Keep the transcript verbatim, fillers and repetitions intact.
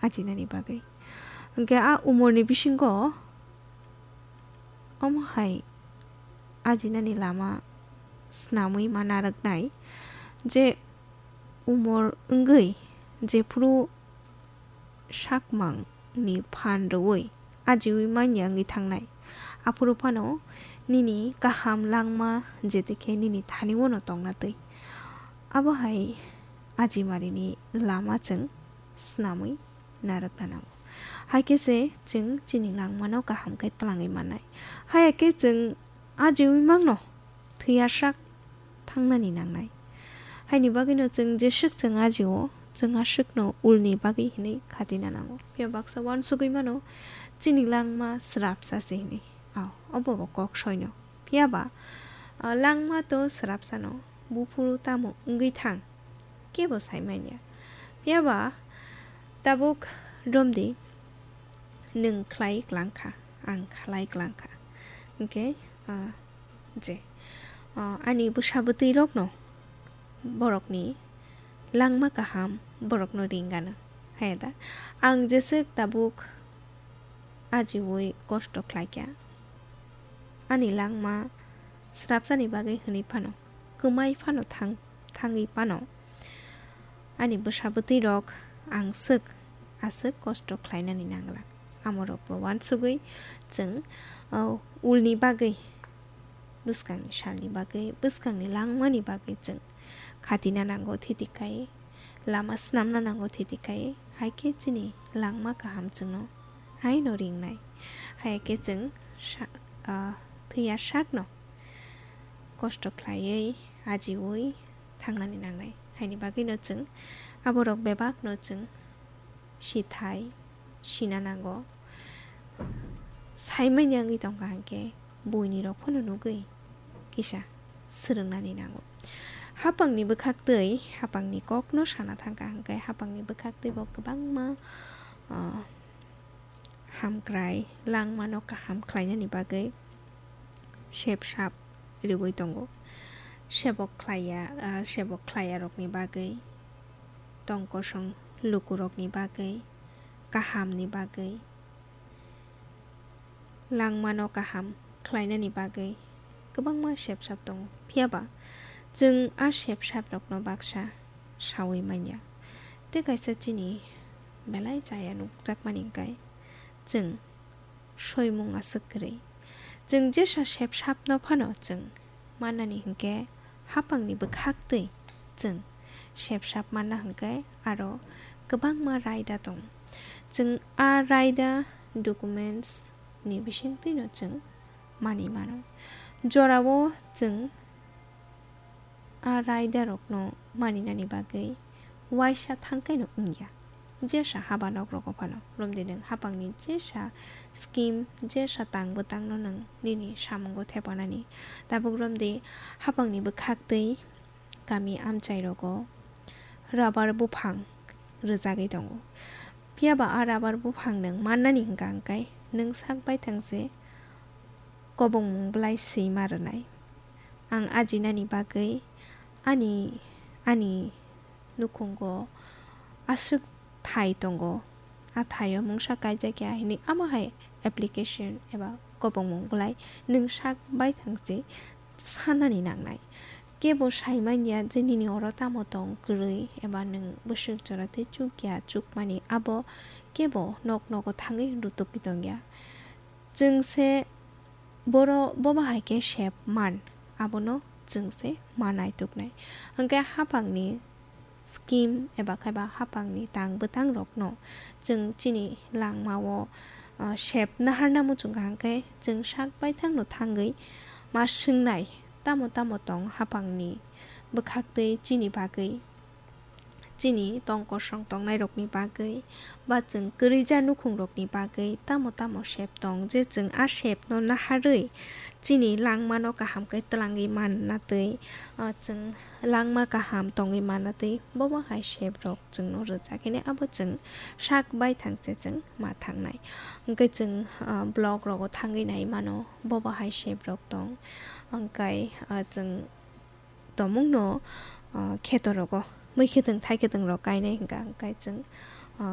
ajinani bagwi. Hwnkhe a umorni bisingo omo hai ajinani lama snamwi ma narwknai, je umor wngwi jephuru sakmangni phan rwui ajiui manya wngwi thangnai. Aphuru phano nini kaham langma, jetekhe nini thani-o no tongna twi. Abo hai ajimarini lama chwng snamwi narwkna nango. Hai khe se chwng chini langmano kaham khe twlangwi mannai. Haya khe chwng ajiui mangno thwiyasak thangnani nangnai. Haini bagwino chwng jeswk chwng ajio, chwng aswkno ulni bagwi hinwi khatina nango. Phiya baksa uansugwi mano, chini langma srapsa se hinwi. Ao, obo bo kok soino. Phiya ba, ah, langma to srapsano, buphuru tamo wngwi thang, kebo sai manya. Phiya ba, tabuk romdi, nwng khlai klangkha, ang khlai klangkha. Hwnkhe, ah, je, ah, ani bwsa bwtwi rokno borokni langma kaham borokno ringano. Haya da? Ang jeswk tabuk ajiui kosto khlaikha. Ani langma srapsani bagwi hwnwi phano, kwmai phano thang-, thangwi phano. Ani bwsa bwtwi rok ang swk aswk kosto khlainani nangla. Amorokbo uansugwi chwng, o, ulni bagwi, bwskangni salni bagwi, bwskangni langmani bagwi chwng khatina nango thiti khai, lama snamna nango thiti khai, hai khe chini langma kaham chwngno haino ringnai. Hai khe chwng sa-, ah, thwiya sakno kosto khlaiwi, ajiui thangnani nangnai. Haini bagwino chwng aborok bebakno chwng sithai, sina nango. Saimanya wngwi tongkha hwnkhe buini rok phano nugwi kisa swrwngnani nango. Hapangni bwkhaktwi, hapangni kokno sana thangkha hwnkhe hapangni bwkhaktwi bo kwbangma, ah, hamkrai langmano kaham khlainani bagwi sep sap riui tongo. Sebok khlaiya, ah, sebok khlaiyarokni bagwi, tong kosong lukurokni bagwi, kahamni bagwi, langmano kaham khlainani bagwi kwbangma sep sap tongo. Phiya ba chwng a sep sap rokno baksa saui manya. Tei kaisa chini belai chaya nukjakmani hwnkhe chwng soimung aswk kwrwi. Chwng jesa sep sapno phano chwng mannani hwnkhe hapangni bwkhaktwi chwng sep sap manna hwnkhe aro kwbangma raida tongo. Chwng a raida documents ni bisingtwino chwng manwi mano. Jorao chwng a raidarokno maninani bagwi uaisa thangkaino wngya. Jesa haba nokrogo phano romdi nwng hapangni jesa scheme, jesa tang bwtangno nwng nini samungo thepanani. Tabuk romdi hapangni bwkhaktwi kami amchairogo rubber buphang rwjagwi tongo. Phiya ba a rubber buphang nwng mannani hwnkha hwnkhe nwng sak baithang se kobongmung bwlai swima rwnai. Ang ajinani bagwi ani, ani nukhungo aswk thai tongo, a thaio mungsa kaijakya hinwi amo hai application eba kobongmung bwlai nwng sak baithang se sanani nangnai. Kebo sai manya je nini oro tamo tong kwrwi eba nwng bwswk jora tei chukya chukmani abo kebo nok nogo thangwi rutugwi tongya. Chwng se boro bobo hai khe sep man, abono chwng se ma naituknai. Hwnkhe hapangni scheme eba khaiba hapangni tang bwtangrokno chwng chini langmao, ah, sep naharna muchungkha hwnkhe chwng sak baithangno thangwi ma swngnai, tamo tamo tong hapangni bwkhaktwi chini bagwi, chini tong kosong tongnairokni bagwi, ba chwng kwrwija nukhungrokni bagwi tamo tamo sep tong je chwng a sepno naharwi chini langmano kaham khe twlangwi manna twi, ah, chwng langma kaham tongwi manna twi bobo hai seprok chwngno rwjak hwnwi abo chwng sak baithang se chwng ma thangnai. Hwnkhe chwng, ah, blogrogo thangwi nai mano bobo hai seprok tong. Hwnkhe, ah, chwng tomungno, ah, khetorogo mui khetwng thai khetwng rok kainai hwnkha, hwnkhe chwng